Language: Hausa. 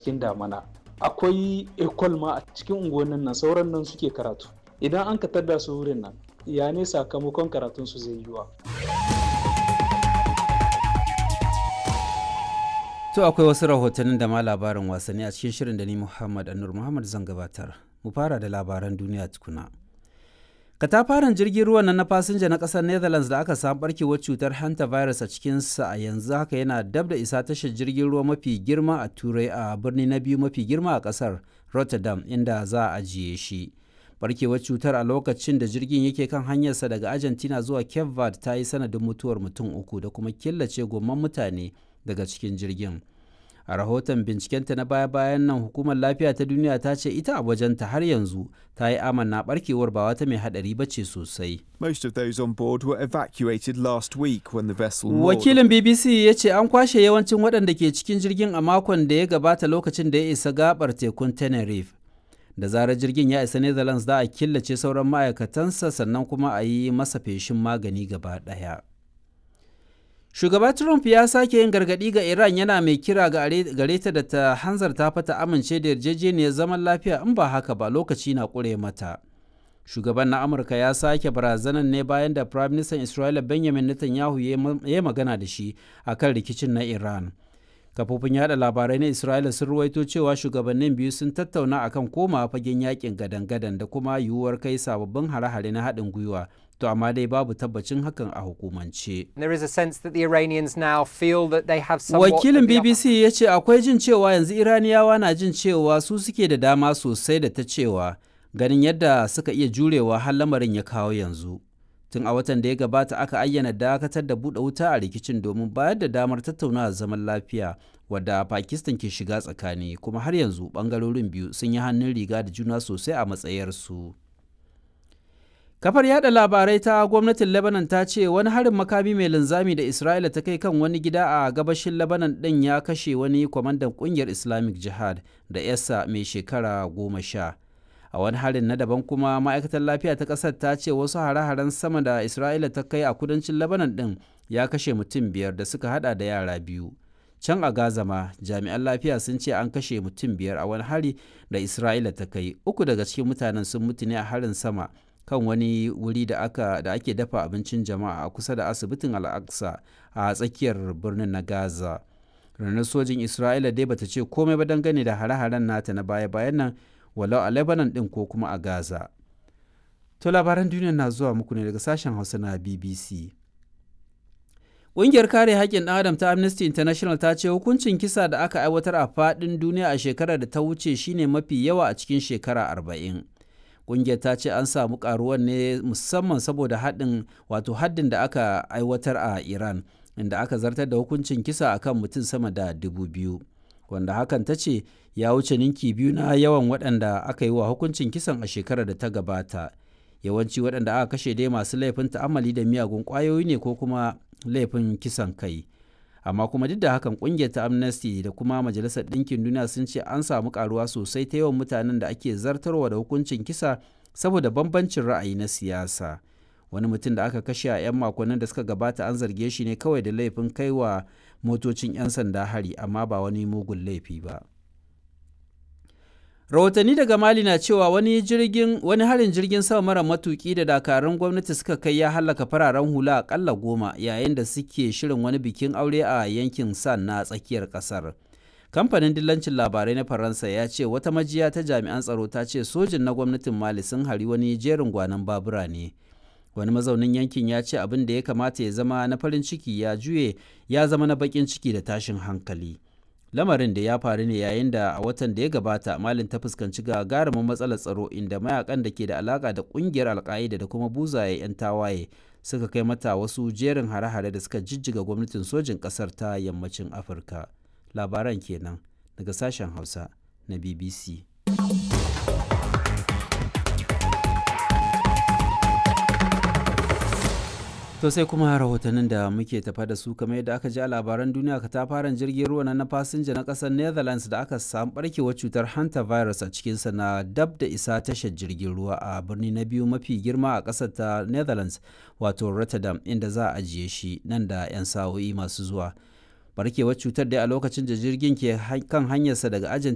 Cikin damana akwai ekol ma a cikin unguwannin nan, sauran nan suke karatu. Idan an ka tadda su wurin nan, ya ne sakamakon karatun su zai yiwa? To akwai wasu rahotannin da ma labarin wasanni a cikin shirin da ni Muhammad Anur Muhammad zan gabatar. Mu fara da labaran duniya tukuna. Katafaren jirgin ruwan na fasinja na ƙasar Netherlands da aka samu barkewar cutar hanta virus a cikinsa a yanzu haka yana dab da isa tashar jirgin ruwa mafi girma a Turai a birni na biyu mafi girma a ƙasar Rotterdam, inda za a ajiye shi. Barkewar cutar a lokacin da jirgin yake kan hanyarsa daga Argentina zuwa Cape Verde ta yi sanadin mutuwar mutum uku da kuma killace gomman mutane daga cikin jirgin. A rahoton bincikenta na baya-bayan nan, hukumar lafiya ta duniya ta ce ita a wajenta har yanzu ta yi amanna barkewar ba wata mai hadari ba ce sosai. Most of those on board were evacuated last week when the vessel moored. Wakilin BBC ya ce an kwashe yawancin waɗanda ke cikin jirgin a makon da ya gabata lokacin da ya isa gabar tekun Tenerife. Da zarar jirgin ya isa Netherlands, za a killace sauran ma'aikatansa sannan kuma a yi masa feshin magani gaba ɗaya. Shugaba Trump ya sake yin gargaɗi ga Iran, yana mai kira gare ta da ta hanzarta fata amince da yarjejeniyar zaman lafiya, in ba haka ba lokaci na ƙure mata. Shugaban na Amurka ya sake barazanar ne bayan da Prime Minister Isra'ila Benjamin Netanyahu ya magana da shi akan rikicin na Iran. Kafofin yada labarai na Isra'ila sun ruwaito cewa shugabannin biyu sun tattauna akan komawa fagen yakin gadan-gadan da kuma yiwuwar kai sababbin hare-hare na haɗin gwiwa. To amma dai babu tabbacin hakan a hukumance. There is a sense that the Iranians now feel that they have somewhat Wakilin of the upper BBC ya ce akwai jin cewa yanzu Iraniyawa na jin cewa su suke da dama sosai da ta cewa, ganin yadda suka iya jurewa har lamarin ya kawo yanzu. Tun a watan da ya gabata aka ayyana dakatar da buɗe wuta a rikicin domin bayar da damar tattaunawa zaman lafiya wadda Pakistan ke shiga tsakani, kuma har yanzu ɓangarorin biyu sun yi hannun riga da juna sosai a matsayarsu. Kafar yada labarai ta gwamnatin Lebanon ta ce wani harin makami mai linzami da Isra'ila ta kai kan wani gida a gabashin Lebanon ɗin ya kashe wani kwamandan ƙungiyar Islamic Jihad da yasa mai shekara 10. A wani harin na daban kuma, ma'aikatar lafiya ta ƙasar ta ce wasu hare-haren sama da Isra'ila ta kai a kudancin Lebanon ɗin ya kashe mutum biyar da suka hada da yara biyu. Can a Gaza ma, jami'an lafiya sun ce an kashe mutum biyar a wani hari da Isra'ila ta kai. Uku daga cikin mutanen sun mutu ne a harin sama kan wani wuri da aka da ake dafa abincin jama'a a kusa da asibitin Al-Aqsa a tsakiyar birnin na Gaza. Rundunar sojin Isra'ila dai bata ce komai ba dangane da hare-haren nata na baya-bayan nan, walau a Lebanon din ko kuma a Gaza. To labaran duniya na zuwa muku ne daga sashen Hausa na BBC. Ƙungiyar kare haƙƙin ɗan adam ta Amnesty International ta ce hukuncin kisa da aka aiwatar a faɗin duniya a shekarar da ta wuce shine mafi yawa a cikin shekara 40. Ƙungiyar ta ce an samu ƙaruwar ne musamman saboda haɗin wato haddin da aka aiwatar a Iran, inda aka zartar da hukuncin kisa akan mutum sama da 2,000. Wanda hakan ta ce ya wuce ninki biyu na yawan waɗanda aka yi wa hukuncin kisan a shekarar da ta gabata. Yawanci waɗanda aka kashe dai masu laifin ta'ammali da miyagun ƙwayoyi ne ko kuma laifin kisan kai. Amma kuma duk da hakan, ƙungiyar ta Amnesty da kuma Majalisar Ɗinkin Duniya sun ce an samu ƙaruwa sosai ta yawan mutanen da ake zartarwa da hukuncin kisa saboda bambancin ra'ayi na siyasa. Wani mutum da aka kashe a 'yan makonnin da suka gabata an zarge shi ne kawai da laifin kaiwa motocin 'yan sanda hari, amma ba wani mugun laifi ba. Rahotanni daga Mali na cewa wani jirgin wani harin jirgin sama mara matuki da dakarun gwamnati suka kai ya halaka fararen hula akalla 10 yayin da suke shirin wani bikin aure a yankin San na tsakiyar kasar. Kamfanin dillancin labarai na Faransa ya ce wata majiya ta jami'an tsaro ta ce sojin na gwamnatin Mali sun hari wani jerin gwanon babura ne. Wani mazaunin yankin ya ce abin da ya kamata ya zama na farin ciki ya juye ya zama na bakin ciki da tashin hankali. Lamarin da ya faru ne yayin da a watan da ya gabata Malin ta fuskanci gagarumin matsalar tsaro, inda mayakan da ke da alaka da kungiyar Alka'ida da kuma buzaye 'yan tawaye suka kai mata wasu jerin hare-hare da suka jijjiga gwamnatin sojin kasar ta yammacin Afirka. Labaran kenan daga sashen Hausa na BBC. To sai kuma rahotannin da muke tafa da su. Kamar yadda aka ji a labaran duniya, katafaren jirgin ruwa na fasinja na ƙasar Netherlands da aka samu barkewar cutar hanta virus a cikinsa na dab da isa tashar jirgin ruwa a birni na biyu mafi girma a ƙasar ta Netherlands, wato Rotterdam, inda za a ajiye shi nan da 'yan sa'o'i masu zuwa. Barkewar cutar dai a lokacin da jirgin ke kan hanyarsa daga Argentina